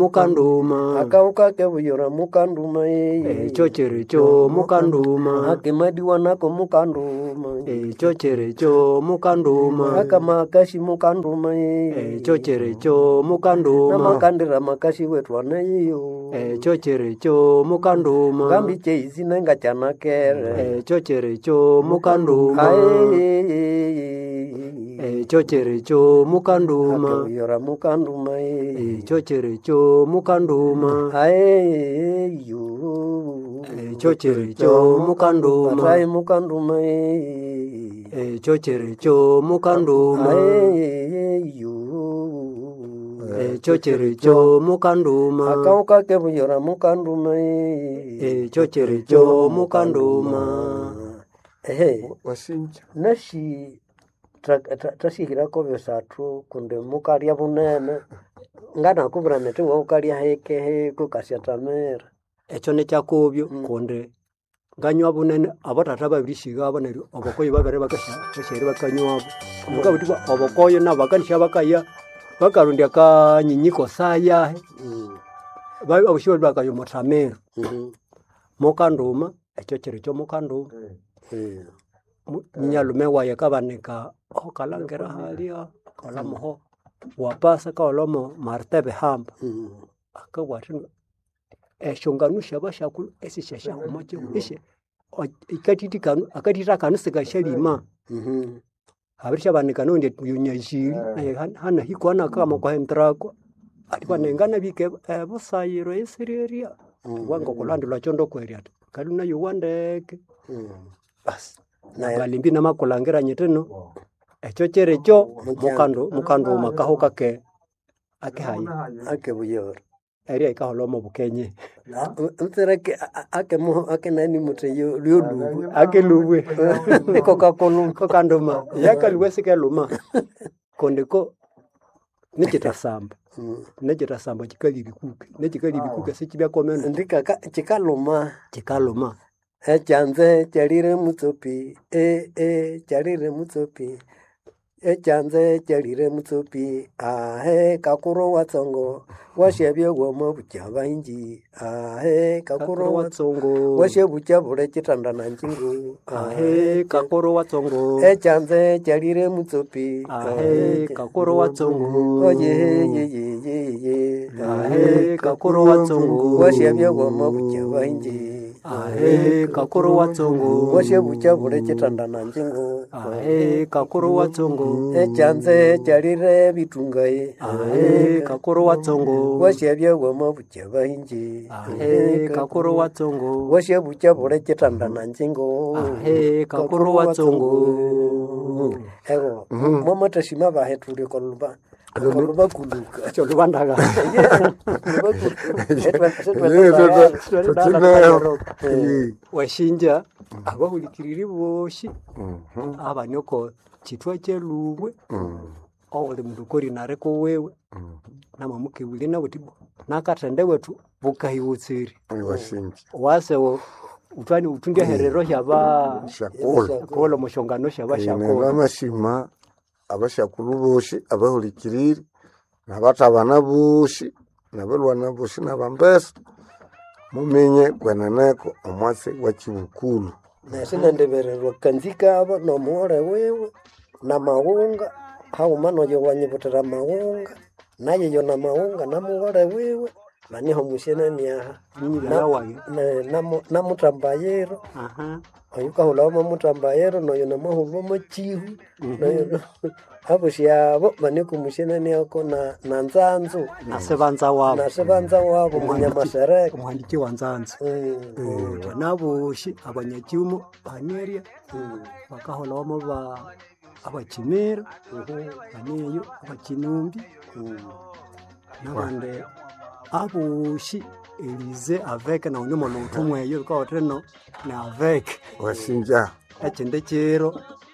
Mukanduma. Akauka kebuyora mukanduma ee. Ekyo kyerikyo mukanduma. Akemadiwa nako mukanduma. Ekyo kyerikyo mukanduma. Akamakasi mukanduma ee. Ekyo kyerikyo mukanduma. Namakandira makasi wetwana iyo. Ekyo kyerikyo mukanduma. Ngambi cheizi nenga chanakere. Ekyo kyerikyo mukanduma. Ae. Ekyo kyerikyo mukanduma. Akebuyora mukanduma ee. Ekyo kyerikyo mukanduma. Ae yo. Ekyo kyerikyo mukanduma. Atai mukanduma ee. Ekyo kyerikyo mukanduma. Ae yo. Ekyo kyerikyo mukanduma. Akauka kebuyora mukanduma ee. Ekyo kyerikyo mukanduma. Ehe. Wasinja. Nasi tasihirako bisathu kundi mukalya bunene nganakubwira niti iwe wukalya hike hike ukasyatamira. Ekyo nikyakobyo kundi nganywa bunene abathatha babirisighabo neryo obukoyo babere bakasya bakanywabo. Mukabugha ithwa obukoyo nabo bakanisya bakaya bakarondya akanyinyi kosayahi abosi balhwe bakaya omuthamiro. Mukanduma ekyo kiri kyomukanduma. Munyalume wayi akabanika aho kalhangira halya akaghulhamoho wapasa akagholhamo Martin Bihamba. Akabugha athi esyongano syabasyakulhu esisyasyahuma kihugho akathitha kanu sikasyalima. Habirisyabanika noghundi oyunyaziri nayu hanahiko anakama okwa hentrako athi bana nganabika ebusayiro eyisirerya ngoko lhwandi lhwakyo ndokwerya athi ngalwe nayowa ndeke. Basi nangalimbi namakulhangira nyithi ino ekyo kyirikyo mukanduma akahuka akehaya Akebuyora. erya yikaholha omo bukenye. Mutsere akenani muthi lyolubwe. Akelubwe. Iko kakuluma. Kokanduma yakalubwe sikeluma kundi ko nikitasamba nikitasamba kikalya ebikuke nekikalya ebikuke sikibyakomene Ndikaka kikaluma. Kikaluma. Ekyanze kyalire mutsopi ee kyalire mutsopi ekyanze kyalire mutsopi ahe kakuru watsongo wasyabya wamabukya baingi ahe kakuru watsongo wasyabukya bule kitanda na njingu ahe kakuru watsongo ekyanze kyalire mutsopi ahe kakuru watsongo oyeyeyeyeye ahe kakuru watsongo wasyabya wamabukya baingi ahe kakuru watsongo wasyabukya bule kitanda na njingu ahe kakuru watsongo ekyanze kyalire bitungaye ahe kakuru watsongo wasyabya wamabukya baingi ahe kakuru watsongo wasyabukya bule kitanda na njingu ahe kakuru watsongo ego mwamathashima bahe thuli okoluba olubakuluka kyolubandaga washinja abahulikiriri bosi abani oko kithwa kyelubwe owuli mundu korinare kuwiwe namamukebulya nabuthi nakathende wethu bukahiwutsiri Wasinja. wase utwani uthunde herero hyaba Shakula. kola omushongano syaba syakula Nabamashima abashakulhu bosi abahulikiriri nabathabana bosi nabalwana bosi nabambesa muminye kweneneko omwatsi wa kibukulu. nesinendibirirwa kanzikabo nomughole wiwe namaghunga haghuma noyo wanyibuthira maghunga nayeyo namaghunga namughole wiwe baniho musyenani aha Munyibala wayi. Namutambayiro Aha. oyukahulhawo mwamutambayiro noyo namahulha mwakihu noyo abosi abo baniko musyenani ako na nzanzu Nasibanza wabo nasibanza wabo munyamasereka omuhandiki wa nzanzu nabosi abanyakyumo banerya bakaholhawamo ba abakimira baneyo abakinumbi nabandi abosi elize aveke nawu nimono uthumweyo bikawatha ino ni aveke Wasinja. ekindi kiro.